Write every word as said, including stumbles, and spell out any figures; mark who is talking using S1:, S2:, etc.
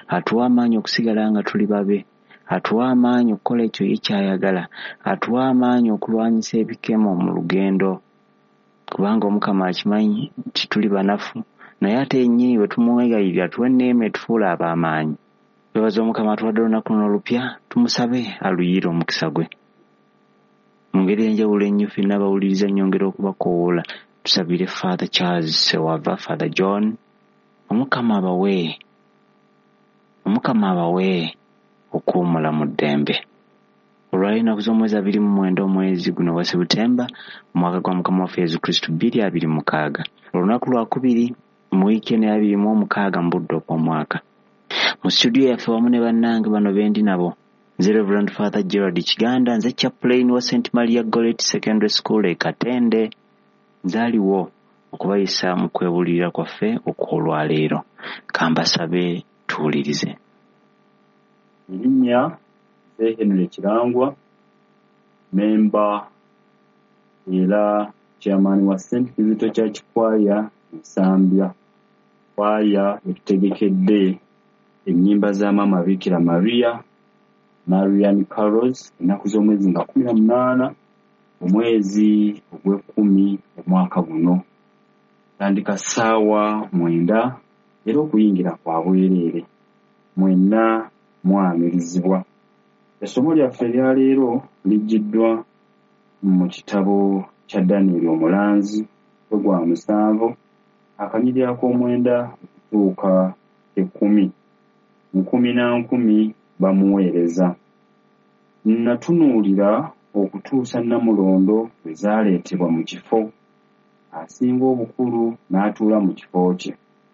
S1: Atuwa amaanyi okusigala nga tuli babe, atuwa amaanyi okukola ekyo ye ky'ayagala, atuwa amaanyi okulwanyisa ebikemo mu lugendo, kubanga Omukama akimanyi nti tuli banafu, naye ate yennyini bwe tumwegayirira atuwa enneema etufuula ab'amaanyi. Twebaza Omukama atuwadde olunaku luno olupya, tumusabe aluyiire omukisa gwe. Mu ngeri ey'enjawulo ennyo ffenna abawuliriza nnyongera okubakoowoola tusabire Father Charles Ssewava, Father John, Omukama abawe Omukama abawe okuwummula mu ddembe. Olwaleero ennaku z'omwezi abiri mu mwenda omwezi guno ogwa Sebutemba omwaka gwa Mukama waffe Yesu Kristo bbiri abiri mukaaga. Olunaku lwakubiri mu wiiki eno ey'abiri mu omukaaga mu budde obw'omwaka. Mu situdiyo yaffe wamu ne bannange bano be ndi nabo, nze Reverend Father Gerald Kiganda, nze chaplain wa Saint Maria Goretti Secondary School e Katende. Nze aliwo okubayisa mu kwebuulirira kwaffe okw'olwaleero. Kambasabe tuwulirize.
S2: Erinnya nze Henry Kirangwa, memba era chairman wa Saint Kizito Church Choir Nsambya. Choir etutegekedde ennyimba za Maama Bikira Maria, Marian Carols, ennaku z'omwezi nga kkumi na munaana omwezi ogw'ekkumi omwaka guno. Tandika ssaawa mwenda era okuyingira kwa bwereere. Mwenna mwanirizibwa. Essomo lyaffe erya leero liggiddwa mu kitabo kya Danieri Omulanzi ogwa musanvu akanyiriri ak'omwenda okutuuka ekkumi. Nkumi na nkumi bamuweereza. Natunuulira okutuusa Nnamulondo lwe zaaleetebwa mu kifo, asinga obukulu n'atuula mu kifo kye.